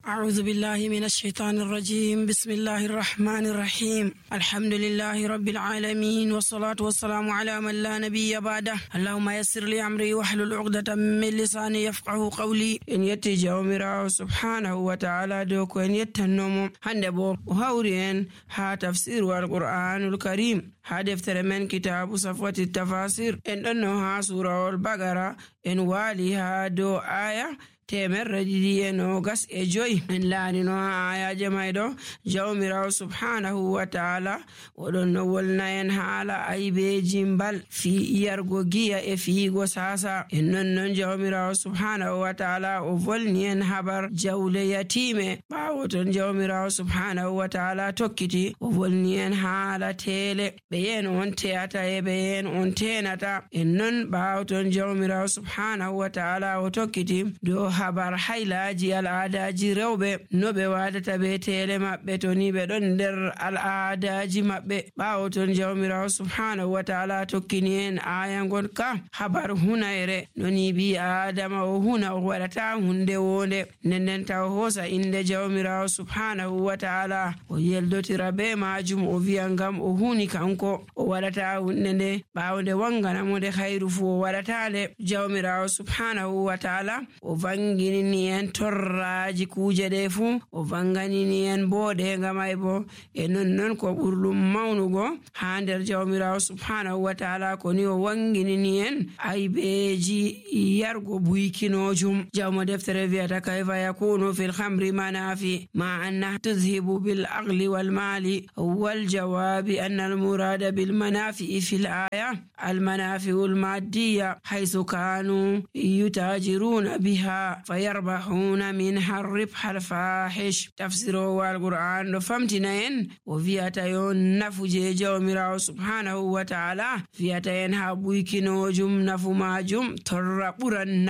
أعوذ بالله من الشيطان الرجيم. بسم الله الرحمن الرحيم. الحمد لله رب العالمين، والصلاة والسلام على من لا نبي بعده. اللهم يسر لي أمري واحلل عقدة من لساني يفقه قولي. إن يتي جاومرا سبحانه وتعالى دوك إن يتنم هندبو وهورين ها تفسير القرآن الكريم ها دفتر من كتاب صفوة التفاسير إن أنها سورة البقرة إن واليها دو آية temerre ɗiɗi e nogas e joyi. en laarino ha ayaje mayɗo jawmirawo subhanahu wa ta'ala oɗon no wolna en haala aybeji mbal fi yargo giya e fiigo sasa. en non jawmirawo subhanahu wa ta'ala o volni en habar jawle yatime. ɓawo ton jawmirawo subhanahu wa ta'ala tokkiti o volni en haala tele ɓe yen on teyata e ɓe yen on tenata. en non ɓawo ton jawmirawo subhanahu wa ta'ala o tokkiti do habar haylaji al'adaji rewɓe no ɓe wadata be tele maɓɓe to ni ɓe ɗon nder al'adaji maɓɓe. ɓawo ton jawmirawo subhanahu wa ta'ala tokkini en aya gonka habar hunayre no ni bi adama o huna o waɗata hunde wonde nden taw hosa inde jawmirawo subhanahu wa ta'ala o yeldotira be majum o wiya ngam o huni kanko o waɗata hunde nde ɓawo nde wanganamo nde hayru fu o waɗata nde. jawmirawo subhanahu wa ta'ala o vanginini en torraji kuje ɗe fu o vanganini en boɗe ngamay bo e non ko ɓurɗum mawnugo ha nder jawmirawo subhanahu wa ta'ala ko ni o wanginini en aybeji yargo buykinojum. jawmo deftere wiyata kayfa yakunu fil khamri manafi ma anna tudhibu bil aqli wal mali wal jawabi anna al murada bil manafi fil aya al manafi al maddiya haythu kanu yutajiruna biha fayarbahuna minha ribha al fahish. tafsiro wal qur'an do famtina en o wiyata yo nafuje jawmirawo subhanahu wa ta'ala wiyata en ha buykinojum nafu majum torra ɓuran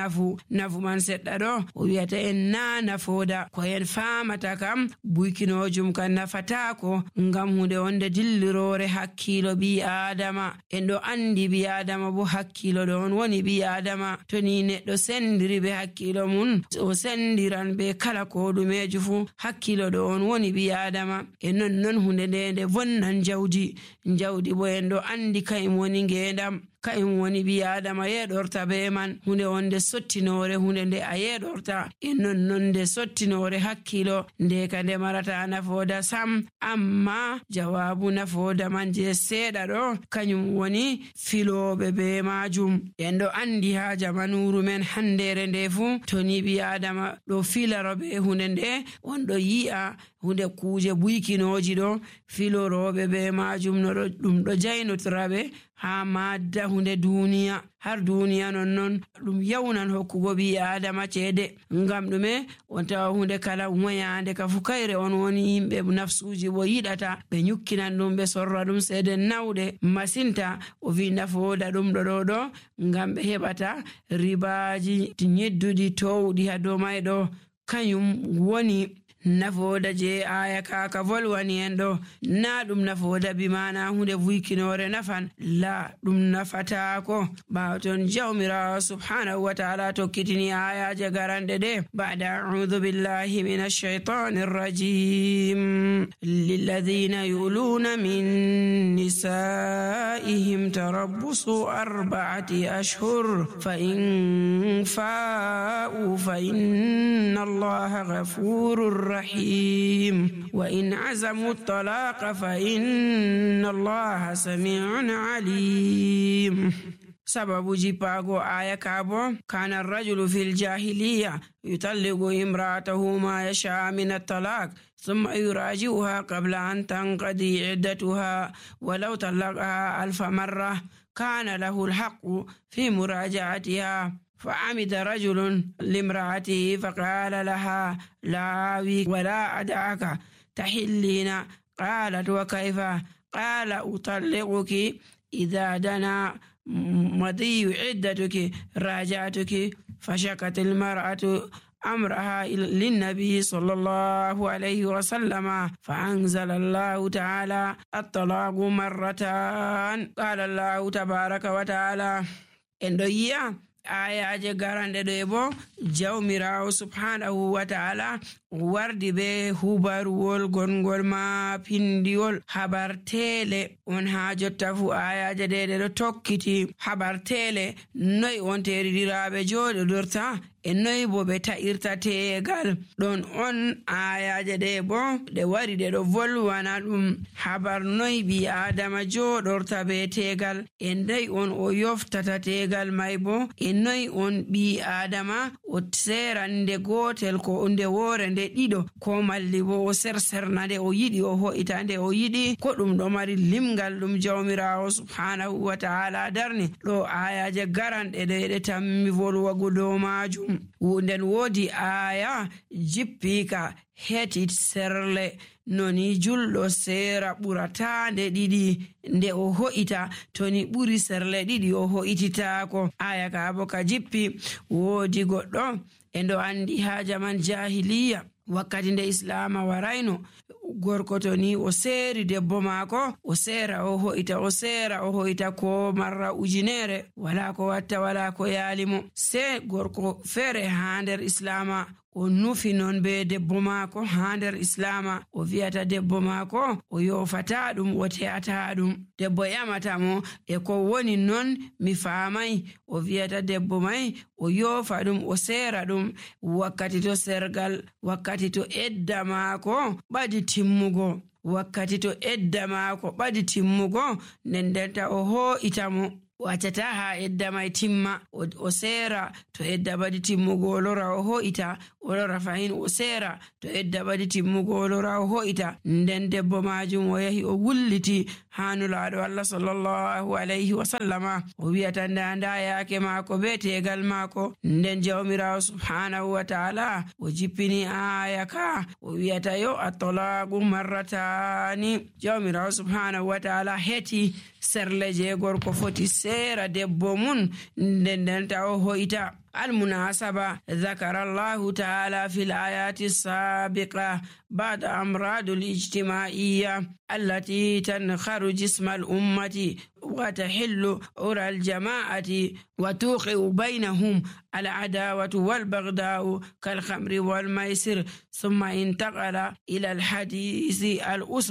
nafu man seɗɗa ɗo o wiyata en na nafoda ko en famata kam buykinojum kan nafatako ngam hunde wonde dillirore hakkilo bi adama. en ɗo andi bi adama bo hakkilo ɗon woni bi adama to ni neɗɗo sendiri be hakkilo mun o sendiran be kala ko ɗumeji fu hakkilo ɗo on woni bi adama. e non hunde nde vonnan jawdi bo en ɗo andi kayum woni ngendam kayum woni bi adama yeɗorta be man hunde wonde sottinore hunde nde a yeɗorta e non nde sottinore hakkilo nde ka nde marata nafoda sam. amma jawabu nafoda man je seeɗa ɗo kanyum woni filoɓe be majum. en ɗo andi ha jamanuru men handere nde fu to ni bi adama ɗo filaro be hunde nde on ɗo yi'a hunde kuje buykinoji ɗo filoroɓe be majum no ɗum ɗo jaynotiraɓe ha madda hunde duniya har duniya non ɗum yawnan hokkugo bi adama ceede. ngam ɗume on tawa hunde kala moyande ka fu kayre on woni yimɓe nafsuji bo yiɗata ɓe nyukkinan ɗum ɓe sorra ɗum seede nawɗe masinta. o wi nafoda ɗum ɗo ngam ɓe heɓata ribaji nyedduɗi towɗi ha dow mayɗo kanyum woni nafoda je aya kaka volwani en ɗo. na ɗum nafoda bi mana hunde vuykinore nafan la ɗum nafatako. ɓawo ton jawmirawo subhanahu wa ta'ala tokkitini ayaje garanɗe ɗe ba'da a'udhu billahi minash shaitanir rajim lilladhina yuluna min nisaihim tarabbusu 4 ashhur fa in fa'u fa inna allaha ghafurur رحيم وإن عزموا الطلاق فإن الله سميع عليم. سبب جيباغو آية كابو كان الرجل في الجاهلية يطلق امرأته ما يشاء من الطلاق ثم يراجعها قبل أن تنقضي عدتها ولو طلقها 1000 مرة كان له الحق في مراجعتها. فعمد رجل لامرأته فقال لها لا أبيك ولا أدعك تحلين. قالت وكيف؟ قال أطلقك إذا دنا مضي عدتك راجعتك. فشكت المرأة أمرها للنبي صلى الله عليه وسلم فأنزل الله تعالى الطلاق مرتان. قال الله تبارك وتعالى إن ayaje garande ɗo bo jawmirawo subhanahu wa ta'ala wardi be hubaruwol gongol ma pindiwol habartele on ha jotta fu ayaje ɗe ɗo tokkiti habartele noy on teridiraɓe joɗodorta e noy bo ɓe ta'irta tegal ɗon on ayaje ɗe bo ɗe wari ɗe ɗo volwana ɗum habar noy ɓi adama joɗorta be tegal e noy on o yoftata tegal may bo e noy on ɓi adama o serande gotel ko nde wore nde ɗiɗo ko malli bo o serserna nde o yiɗi o ho'ita nde o yiɗi ko ɗum ɗo mari limgal ɗum jawmirawo subhanahu wa ta'ala darni ɗo ayaje garanɗe ɗe tammi volwago dow majum. Nden woodi aya jippika heti serle noni julɗo seera ɓurata nde ɗiɗi nde o ho'ita to ni ɓuri serle ɗiɗi o ho'ititako. Aya ka bo ka jippi woodi goɗɗo e ndo andi ha jaman jahiliya wakkati nde islama warayno gorko to ni o seeri debbo maako o seera o ho'ita o seera o ho'ita ko marra ujunere wala ko watta wala ko yaalimo se gorko feere ha nder islama o nufi non be debbo maako ha nder islama o wi'ata debbo maako o yofata ɗum o te'ata ɗum debbo yamata mo e ko woni non mi faamay o wi'ata debbo may o yofa ɗum o seera ɗum wakkati to sergal wakkati to edda maako ɓadi timmugo wakkati to edda maako ɓadi timmugo ndendenta o ho'ita mo waccata ha edda may timma o seera to edda badi timmugo o lora o ho'ita o lora fahin o seera to edda badi timmugo o lora o ho'ita nden debbo majum o yahi o wulliti ha nulaaɗo Allah sallallahu alayhi wa sallama o wi'ata nda yaake maako be tegal maako nden jawmirawo subhanahu wa ta'ala o jippini aya ka o wi'ata yo at-talaqu marratani jawmirawo subhanahu wa ta'ala heti serle je gorko foti seera debbo mun nden ta o ho'ita. المناسبة ذكر الله تعالى في الآيات السابقة بعض أمراض الاجتماعية التي تنخر جسم الأمة وتحل عرى الجماعة وتوقع بينهم العداوة والبغضاء كالخمر والميسر ثم انتقل إلى الحديث الأسري